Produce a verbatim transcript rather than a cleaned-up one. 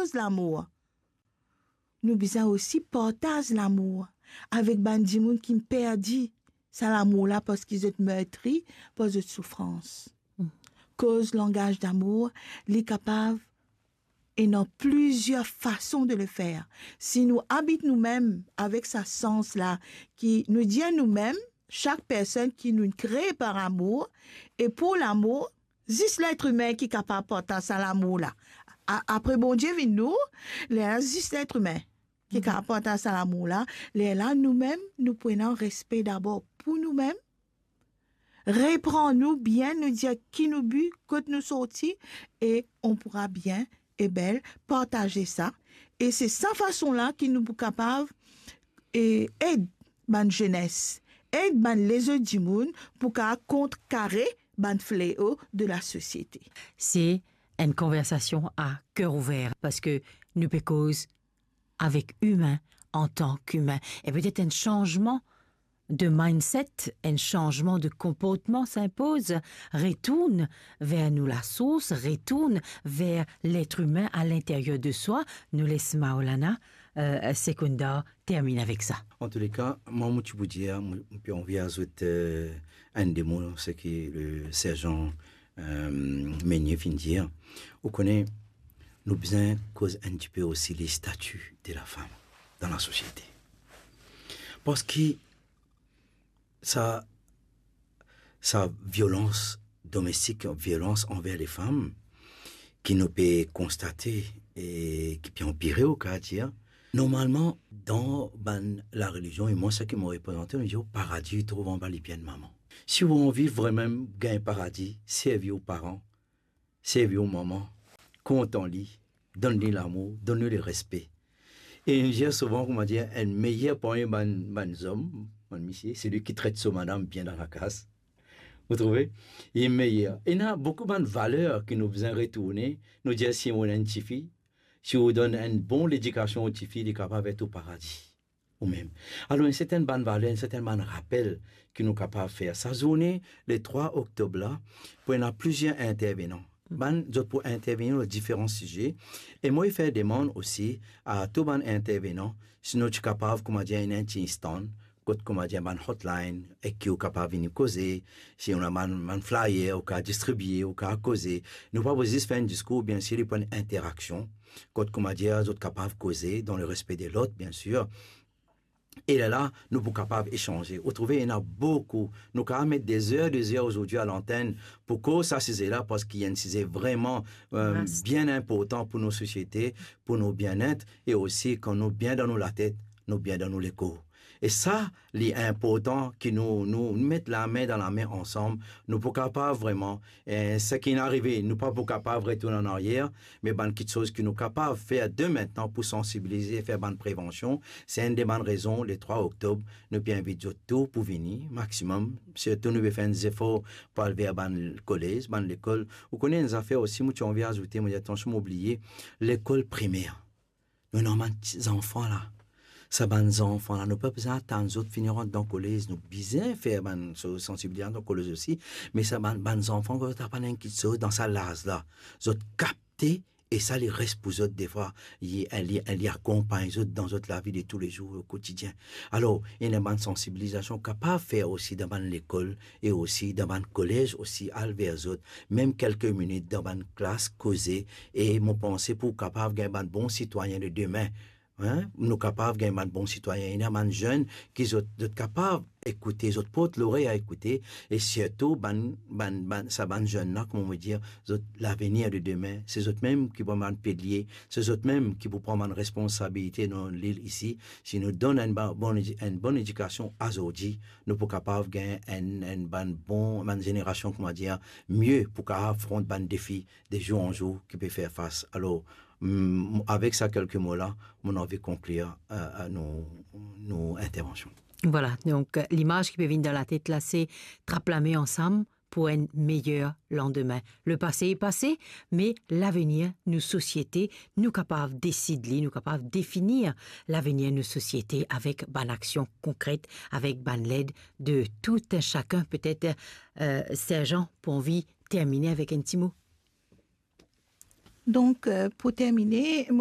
koz lamour, nou bizin osi partaz lamour avek bann dimoun ki perdi sa lamour la parski zot mertri par zot soufrans. Koz langaz damour, li kapav, ena plizier fason de le fer. Si nou abit noumem avek sa sans la, ki nou dir noumem, sak personn ki nou kre par amour e pou lamour, zis let imin ki kapav partaz sa lamour la. A-, apre Bondie vinn nou, lerla zis let imin ki kapav partaz sa lamour la, lerla noumem, nou pou ena respe dabor pou noumem, repran nou bien, nou dir ki nou bi, kot nou sorti, e on poura bien e bel partaze sa. E se sa fason la ki nou pou kapav, e, ed bann zenes, ed bann lezot dimoun pou kapav kontrkare bann fleo de lasosiete. Se enn konversasion a ker ouver, parski nou pe koz avek imin antan ki imin. E petet enn sanzman de mindset, enn sanzman de konportman sinpoz, retourn ver nou lasours, retourn ver let imin a linteryer de swa. Nou les Maulana, euh, Sekounder terminn avek sa. Antouka, mwa, mo ti pou dir, mo, mo pe anvi azout, euh, enn de mo, seki le serzan, euh, Meunier finn dir. Ou kone, nou bizin koz enn tipe osi le stati de lafam dan lasosiete. Parski sa, sa violans domestik, violans anver lefam, ki nou pe konstate e ki pe anpire, ou kapav dir, normalman, dan bann larelizion, e mwa, seki mo reprezante, nou dir, paradi trouv anba lipie enn mama. Si ou anvi vremem gagn paradi, servi ou paran, servi ou mama, kontan li, donn li lamour, donn li lerespe. E nou dir souvan, kouma dir, enn meyer parmi bann, bann zom, bann misie, selwi ki tret so madam bien dan lakaz. Ou trouve? Li meyer. Ena boukou bann valer ki nou bizin retourne. Nou dir, si ou ena enn tifi, si ou donn enn bon ledikasion ou tifi, li kapav et ou paradi. Ou mem. Alor, enn sertenn bann valer, enn sertenn bann rapel ki nou kapav fer. Sa zourne, le trwa oktob la, pou ena plizier intervenan. Bann, zot pou intervenir lor diferan size. E mo fer demann osi a tou bann intervenan, si nou ti kapav, kouma dir, ena enn ti stand, kot, kouma dir, bann hotline, ek ki ou kapav vini koze, si ou ena bann, bann flyer, ou kapav distribie, ou kapav koze. Nou pa pou zis fer enn diskour, biensir, li pou enn interaksion. Kot, kouma dir, zot kapav koze dan lerespe de lot, biensir. E lerla, nou pou kapav esanze. Ou trouve, ena boukou. Nou kapav met de zer, de zer azordi a lantenn pou koz sa size la, parski enn size vreman, euh, bien inportan pou nou sosiete, pou nou bienet, e osi kan nou bien dan nou latet, nou bien dan nou lekor. E sa, li inportan ki nou, nou met lame dan lame ansam, nou pou kapav vreman, eh, seki inn arive, nou pa pou kapav retourn an aryer, me bann kiksoz ki nou kapav fer de mintnan pou sansibilize, fer bann prevansion, se enn de bann rezon, le trwa oktob, nou pe invit zot tou pou vini, maximum, sirtou nou pe fer enn zefor pou al ver bann kolez, bann lekol. Ou kone enn zafer osi, mo ti anvi azoute, mo dir, atansion, mo bliye, lekol primer. Nou ena bann ti zanfan la. Sa bann zanfan la, nou pa bizin atann zot fini rant dan kolez. Nou bizin fer bann so-, sansibilizasion dan kolez osi, me sa bann, bann zanfan, kan zot aprann enn kiksoz dan sa laz la, zot kapte, e sa li res pou zot defwa, li, li, li akonpagn zot dan zot lavi de toulezour, o kotidien. Alor, ena bann sansibilizasion kapav fer osi dan bann lekol, e osi dan bann kolez osi, al ver zot, mem kelke minit dan bann klas, koze, e mo panse pou kapav gagn bann bon sitwayin de demin, hein, nou kapav gagn bann bon sitwayin, ena bann zenn ki zot, zot kapav ekoute, zot port lorey a ekoute, e sirtou bann, bann, bann, sa bann zenn la, kouma mo dir, zot lavenir de demin, se zot mem ki pou bann pilie, se zot mem ki pou pran bann responsabilite dan lil isi. Si nou donn enn ba-, bon edi-, enn bon edikasion azordi, nou pou kapav gagn enn, enn bann bon, bann zenerasion, kouma dir, mie pou kapav afront bann defi de zour an zour ki pe fer fas. Alor, mm, avek sa kelke mo la, mo anvi konklir, euh, euh, nou, nou intervansion. Vwala, donk, euh, limaz ki pe vinn dan latet la, se trap lame ansam pou enn meyer landemin. Lepase e pase, me lavenir nou sosiete, nou kapav desid li, nou kapav definir lavenir nou sosiete avek bann aksion konkret, avek bann led de tou enn sakenn. Petet, euh, Serjan pou anvi termine avek enn ti mo. Donk, euh, pou termine,